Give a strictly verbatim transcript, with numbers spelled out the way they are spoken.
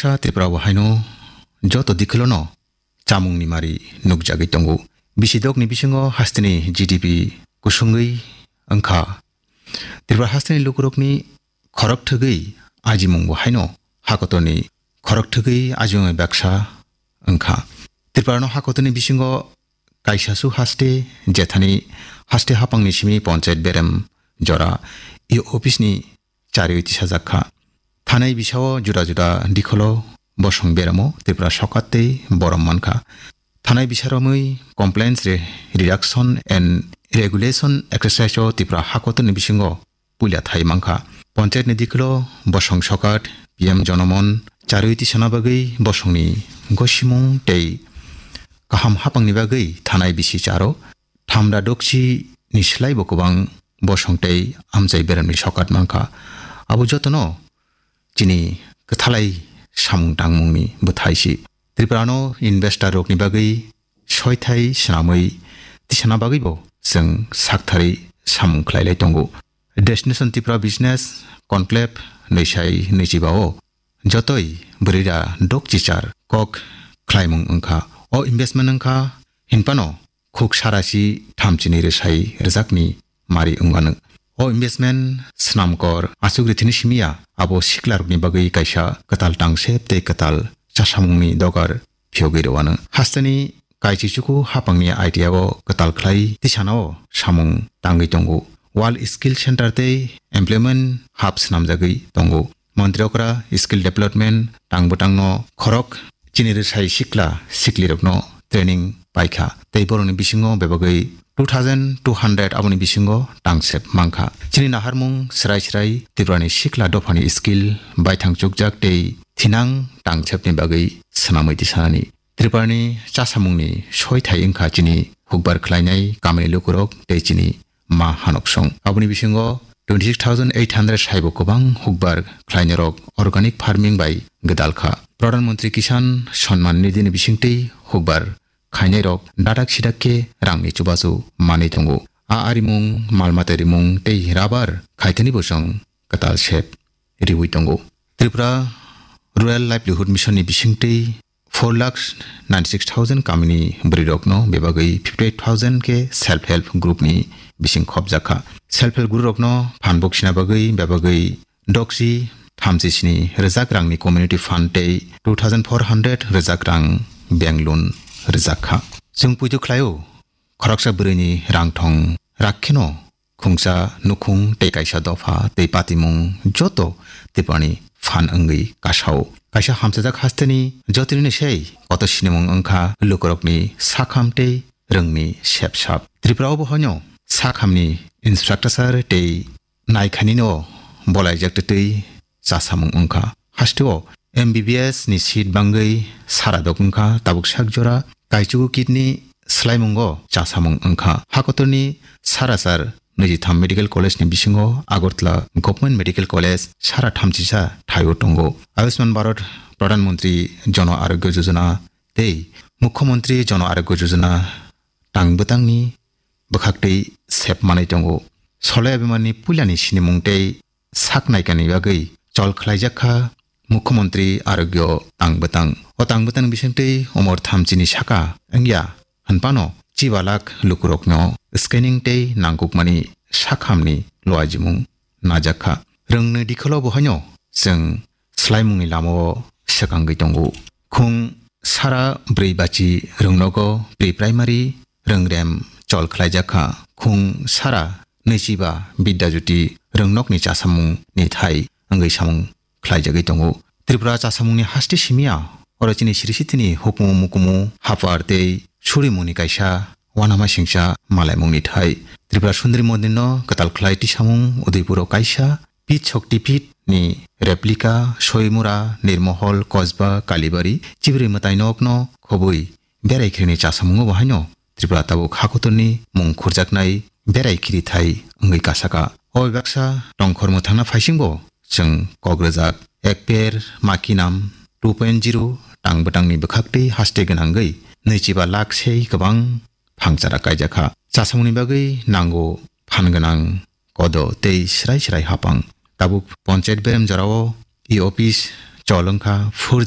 Baksa Tripura o haino joto dikhilono chamungni mari nukjagwi tongo. Bisi dokni bisingo hasteni G D P kusungwi wngkha. Tripura hasteni lukurokni khorok thwgwi ajimungbo haino hakotorni khorok thwgwi ajimung baksa wngkha. Tripuranw hakotorni bisingo kaisasu haste jethani haste hapangni simi ponchayat berem jora E O office ni chariwi tisajak kha. Thanai bisao juda juda dikholo bosong beramo Tripura sokat tei borom mankha. Thanai bisaromwi complaints re-, reduction and regulation exercise o Tripura hakotorni bisingo puila thai mankha. Ponchayat ni dikholo bosong sokat, P M Jonomon, charwi tisana bagwi bosongni gosimung tei kaham hapangni bagwi thanai bisi charo thamda dokchi ni slai bo kwbang bosong tei amchai beremni sokat mankha. Abo jotono chini kwthalai samung tangmungni bwthai si. Tripura no investor rokni bagwi soithai swnamwi tisana bagwi bo chwng sakthari samung khlai lai tongo. Destination Tripura Business Conclave nwisai nwichiba o jotoi bwrwira dok chichar kok khlaimung wngkha. O investment wngkha hinphano khuk sarasi thamchini rwsai rwjakni mari wngmano. O investment swnamkor aswk rithini simiya abo siklarokni bagwi kaisa kwtal tangsep tei kwtal chasamungni dogar phiyogwi rwano. Hasteni kaichichuku hapangni idea o kwtal khlai tisanao samung tangwi tongo. World Skill Center tei Employment Hub swnamjagwi tongo. Montri okra skill development tang bwtangno khorok chini rwsai sikla siklirokno training paikha tei borokni bisingo bebagwi two thousand two hundred aboni bisingo tangsep mankha. Chini naharmung srai srai Tripurani sikla dophani skill baithang chukjak tei thinang tangsepni bagwi swnamwi tisanani. Tripurani chasamungni soithai wngkha chini hukbar khlainai kamini lukurok tei chini ma hanoksong. Aboni bisingo twenty six thousand eight hundred saibo kwbang hukbar khlainairok organic farming bai gwdalkha. Pradhan Mantri Kisan Samman Nidhi ni bisingtwi hukbar khainairok dadak sidak khe rangni chubachu manwi tongo. A arimung, malmata rimung tei rubber khaithani bosong kwtal sep riwi tongo. Tripura Rural Livelihood Mission ni bisingtwi four lakh ninety six thousand kamini bwrwirokno bebagwi fifty eight thousand khe self help group ni bising khopjakha. Self help group rokno phan boksina bagwi bebagwi doksi thamchi sini rwjak rangni community fund tei two thousand four hundred rwjak rang bank loan rwjakha. Chwng puitu khlaio, khoroksa bwrwini rang thong rak kheno khungsa nukhung tei kaisa dopha tei patimung joto Tripurani phan wngwi kasao. Kaisa hamchajak hasteni jotono sei koto sinimung wngkha lukurokni sakham tei rwngni sepsap. Tripura o bo hoino sakhamni infrastructure tei naikhanino bolaijak twtwi chasamung wngkha. Hasteo M B B S ni seat bangwi sara dok wngkha, tabuk sak jora kaichugo kidney swlaimungo chasamung wngkha. Hakotorni sara sar nijitham Medical College ni bisingo Agartala Government Medical College sara thamchisa thaio tongo. Ayushman Bharat Pradhan Mantri Jana Arogya Yojana tei Mukhyamantri Jana Arogya Yojana tang bwtangni bwkhaktwi sep manwi tongo. Solai abemani puilani sinimung tei sak naikani bagwi chol khlaijak kha Mukhyamantri Arogya tang bwtang. O tang bwtang bisingtwi umor thamchini saka wngya hwnphano chiba lakh lukurokno scanning tei nangkukmani sakhamni luajimung najak kha. Rwngnwi dikholo bo haino chwng swlaimungni lamao swkangwi tongo. Khung sara brwi bachi rwngnogo pre-primary rwngrem chol khlaijak kha. Khung sara nwichiba Bidya Jyoti rwngnokni chasamungni thai wngwi samung khlaijagwi tongo. Tripura chasamungni haste simiya oro chini siri sitini hukumu mukumu haphar tei surimungni kaisa uanama singcha malaimungni thai. Tripura Sundari Mondirno kwtal khlai tisamung Udaipuro kaisa Pit Shakti Pit ni replica Soimura, Nirmohol, Kosba, Kalibari, Chibrwi mwtainokno khobwi berai khirini chasamungo bo haino Tripura tabuk hakotorni mung khurjaknai berai khirithai wngwi kasaka. O baksa tongkhor mwthangna phaisingbo chwng kok rwjak Ek Ped Maa Ki Naam two point zero tang bwtangni bwkhaktwi haste gwnangwi nwichiba lakh sei kwbang phangchara kaijakha. Chasamungni bagwi nango phan gwnang kodo tei srai srai hapang. Tabuk ponchayat berem jorao e-office chol wngkha four G